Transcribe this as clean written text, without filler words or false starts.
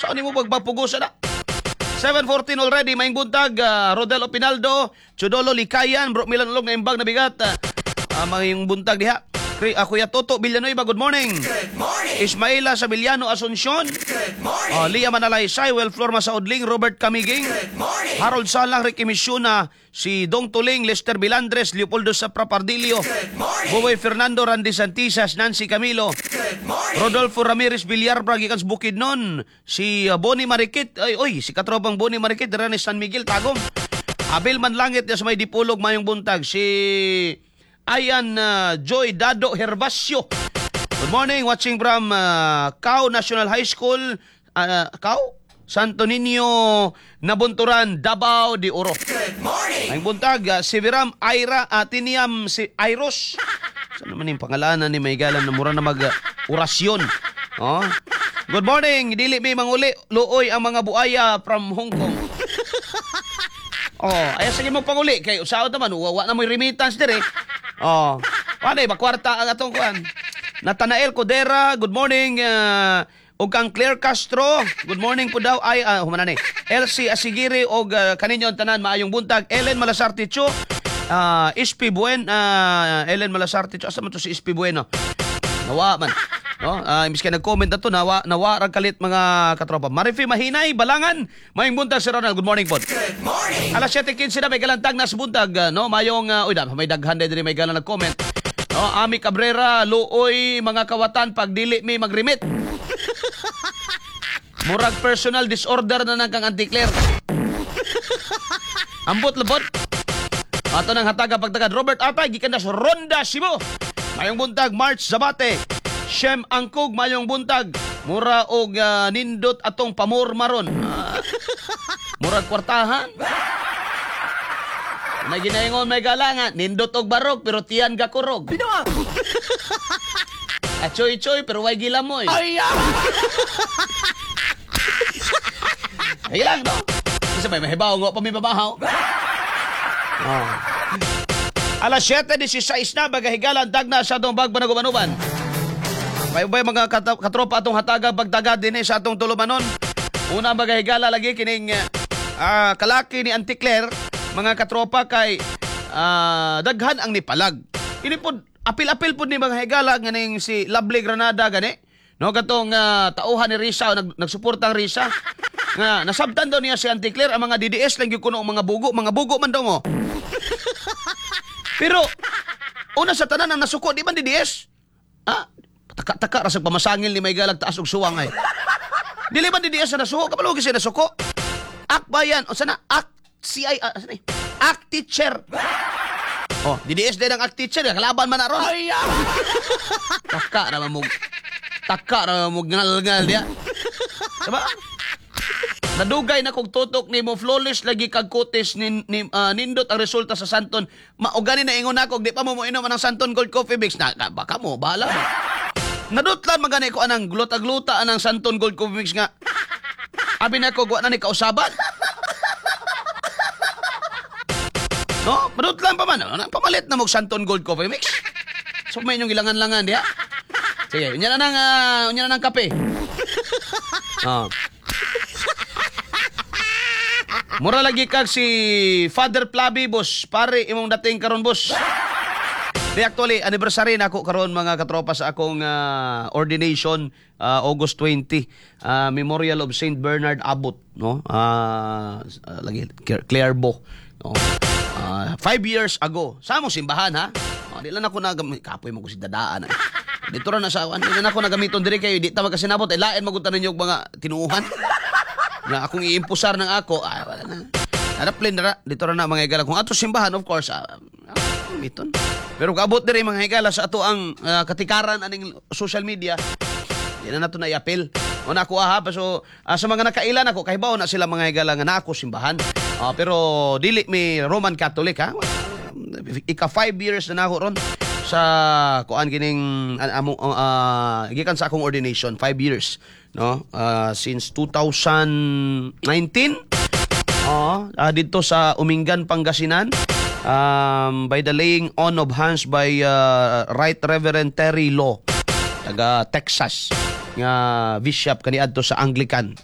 Saan nimo pagpapugosa na? 7:14 already, maayong buntag, Rodel Opinaldo, Chudolo Likayan, Bro Milan Ulog na imbag na bigat. Maayong buntag diha. Kuya Toto Villanueva, good morning. Good morning. Ismaila Sabiliano Asuncion. Good morning. Lia Manalaysay, Welflor Masaudling, Robert Camiging. Good morning. Harold Salang, Ricky Misyuna, si Dong Tuling, Lester Bilandres, Leopoldo Sapra Pardillo, Good morning. Buboy Fernando, Randy Santisas, Nancy Camilo, Good morning. Rodolfo Ramirez Villarba, gikan sa Bukidnon, si Bonnie Marikit, ay, oy, si katropang Bonnie Marikit, dira ni San Miguel, Tagum. Abel Manlangit, sa may Dipolog, mayong buntag, si Ayan Joy Dado Hervasio. Good morning, watching from Cao National High School, Cao? Santo Niño, Nabunturan, Davao de Oro. Good morning. Ang buntag, si Viram Aira, Tiniam, si Airos. Saan naman yung pangalanan ni Maygalan na mura na mag orasyon? Oh. Good morning, dili mi manguli, luoy ang mga buaya from Hong Kong. Oh, ay sige mo panguli kay usaw naman wa na mo'y remittance dire. Oh. Wala ba kwarta ang atong kuan. Nathanael Codera, good morning. Og kang Claire Castro, good morning po daw ay humana ni. Elsie Asigiri og kaninyo ang tanan maayong buntag. Ellen Malasarte Chu, SP Buen, Ellen Malasarte Chu, asa man to si SP Bueno? Nawa man. No? Imbis kay nag-comment na to, nawa, nawa ra kalit mga katropa. Marifi Mahinay, Balangan, maayong buntag, Sir Ronald. Good morning po. Good morning. Alas 7:15 na may galantag na sa buntag, no? Mayong uy, may daghan diri may galang nag-comment. No, Ami Cabrera, luoy mga kawatan pag dili mi mag-remit. Murag personal disorder na nang kang Auntie Claire. Ambot labot. Ato nang hataga pagtagad Robert Atay gikan na sa Ronda Cebu. Mayong buntag, March Zabate. Shem Angkog, mayong buntag. Mura og nindot atong pamor maron. Murag kwartahan. May ginaingon may galangan, nindot og barog pero tiyan gakurog. Achoy-choy pero way gilamoy. Ay! Ay lang, no? Kasi may mahibaw nga pa may babahaw. Oh. Alas 7:16 na, bagahigalan, dagna sa atong bagbanagubanuban. May ubay mga katropa atong hataga pagtaga din sa atong tulumanon. Una bagahigala lagi kining kalaki ni Auntie Claire, mga katropa kay daghan ang nipalag. Ini pod apil-apil pod ni mga higala nganing si Lovely Granada gani. No katong tauhan ni Risa nagsuporta ang Risa. Nga nasabtan daw niya si Auntie Claire ang mga DDS lang gyud kuno ang mga bugo man daw mo. Pero una sa tanan ang nasuko di man DDS. Taka-taka ra sa pamasangil ni may galag taas og suwang ay. Dili man DDS na nasuko, kabalo gyud siya nasuko. Akbayan, o sana ak CI sana eh? Ak teacher. Oh, DDS din ang ak teacher, kalaban man na ron. Ay! Taka ra mo ngal-ngal diya. Diba? Nadugay na kog tutok nimo, flawless lagi kag kutis ni nindot ang resulta sa Santon. Maugani na ingon nako di pa mo moinom anang Santon Gold Coffee Mix na baka mo bahala mo. Nadutlan man gani ko anang gluta-gluta anang Santon Gold Coffee Mix nga. Abi na ko wa na ni kausaban. No, madutlan pa man. Ano, pamalit na mo Santon Gold Coffee Mix. So may inyong gilangan-langan diha. Sige, unya na nang kape. Oh. Mura lagi kag si Father Flavi, boss. Pare, imong dating karon, boss. Di actually, anniversary na ako karon mga katropa sa akong ordination, August 20, Memorial of Saint Bernard Abbot, no? Lagi Clairvaux, no? 5 years ago. Sa among simbahan ha. Oh, di lang ako nagam kapoy mo ko si dadaan. Ay. Dito ra na sa di lang ako nagamiton diri kayo di ta magkasinabot ay lain magud ninyo og mga tinuohan. Na akong iimpusar ng ako, ay wala na. Naraplin na dito ra na mga higala. Kung ato simbahan, of course, gamiton. Pero kaabot diri mga higala sa ato ang katikaran aning social media, di na nato na i-appeal. O na ako aha, so sa mga nakailan ako, kahibaw na sila mga higala nga na ako simbahan. Pero dili mi Roman Catholic ha. Ika 5 years na nako ron sa kuan kining among gikan sa akong ordination, 5 years no, since 2019. Oo, dito sa Umingan, Pangasinan, by the laying on of hands by Right Reverend Terry Law taga Texas nga bishop kaniadto sa Anglican.